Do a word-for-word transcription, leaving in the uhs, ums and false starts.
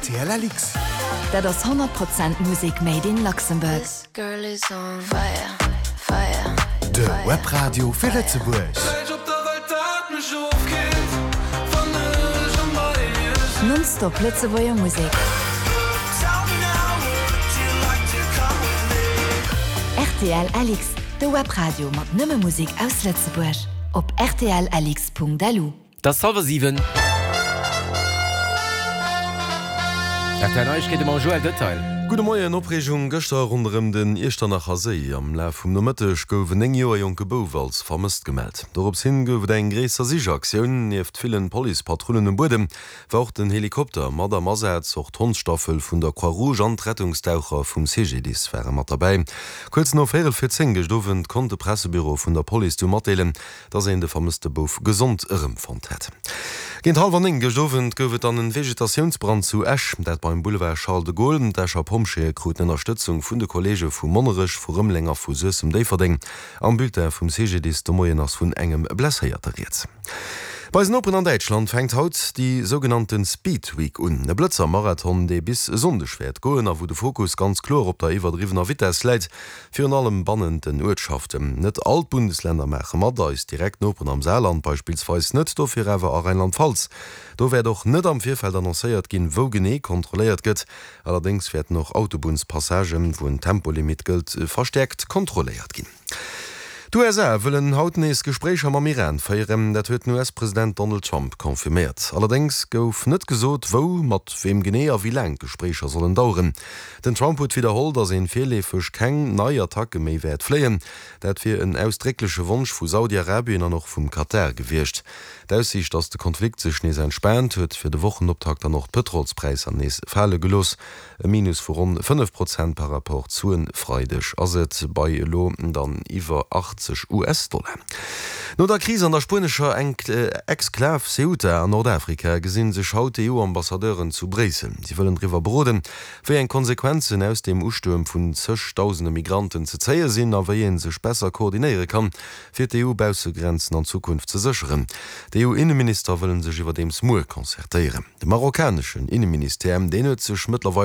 R T L L X. Dat ass honnert Prozent Musek made in Luxembourg. De Webradio fir Lëtzebuerg. Nonstop Lëtzebuerger Musek. R T L L X, de Webradio mat nëmme Musek aus Lëtzebuerg. Op R T L L X Punkt L U. 't ass hallwer siwen. R T L Neiegkeete mam Joël Detail. Gudde Moien, Opreegung gëschter ronderëm den Iechternacher Séi. Am Laf vum Nomëtteg gouf en néng Joer jonke Bouf als vermësst gemellt. Dorops hin gouf et eng gréisser Sichaktioun. Nieft villen Policepatrullen um Buedem war och den Helikopter mat am Asaz. Och d'Hondsstaffel vun der Croix-Rouge an d'Rettungsdaucher vum C G D I S ware mat derbäi. Kuerz no véierel vir zéng gëscht Owend konnt de Pressebüro vun der Police du matdeelen, dass een de vermësste Bouf gesond erëmfonnt hätt. Géint hallwer néng gëscht Owend gouf et dann en Vegetatiounsbrand zu Esch, dat beim Boulevard Charles de Gaulle. D'Escher Pompjeeë kruten Ënnerstëtzung vun de Kolleege vu Monnerech, vu Rëmeleng a vu Suessem-Déifferdeng. Am Bulletin vum C G D I S de Moien ass vun engem Blesséierte rieds. Bei eisen Noperen an Däitschland fänkt haut déi sougenannte Speed Week un, e Blëtzer-Marathon, dee bis e Sonndeg wäert goen a wou de Fokus ganz kloer op der iwwerdriwwener Vitess läit, virun allem bannent den Uertschaften. Net all d'Bundesländer maache mat, eis direkt Noperen am Saarland beispillsweis net, dofir awer a Rheinland-Pfalz. Do wäert och net am Virfeld annoncéiert ginn, wou genee kontrolléiert gëtt. Allerdéngs wäerten och Autobunnspassagen, wou en Tempolimit gëllt, verstäerkt kontrolléiert ginn. D'U S A wëllen haut nees Gespréicher mam Iran féieren, dat huet den U S-President Donald Trump confirméiert. Allerdéngs gouf net gesot, wou, mat weem genee a wéi laang d'Gespréicher sollen daueren. Den Trump huet widderholl, datt een virleefeg keng nei Attacke méi wäert fléien. Dat wier en ausdréckleche Wonsch vu Saudi-Arabien an och vum Katar gewiescht. D'Aussiicht, datt de Konflikt sech nees entspaant, huet fir de Wochenoptakt dann och d'Pëtrolspräisser nees fale gelooss. E Minus vu ronn fënnef Prozent par rapport zu e Freideg ass et bei elo dann iwwer achtzeg U S-Dollar. No der Kris an der spuenescher Exklav Ceuta an Nordafrika gesi sech haut d'E U-Ambassadeuren zu Bréissel. Si wëllen driwwer beroden, wéi eng Konsequenzen aus dem Ustuerm vun zëgdausende Migranten ze zéie sinn a wéi ee sech besser koordinéiere kann, fir d'E U-Baussegrenzen an Zukunft ze sécheren. D'E U-Inneminister wëlle sech iwwerdeems muer concertéieren. De marokkaneschen Inneministère, deen huet sech mëttlerweil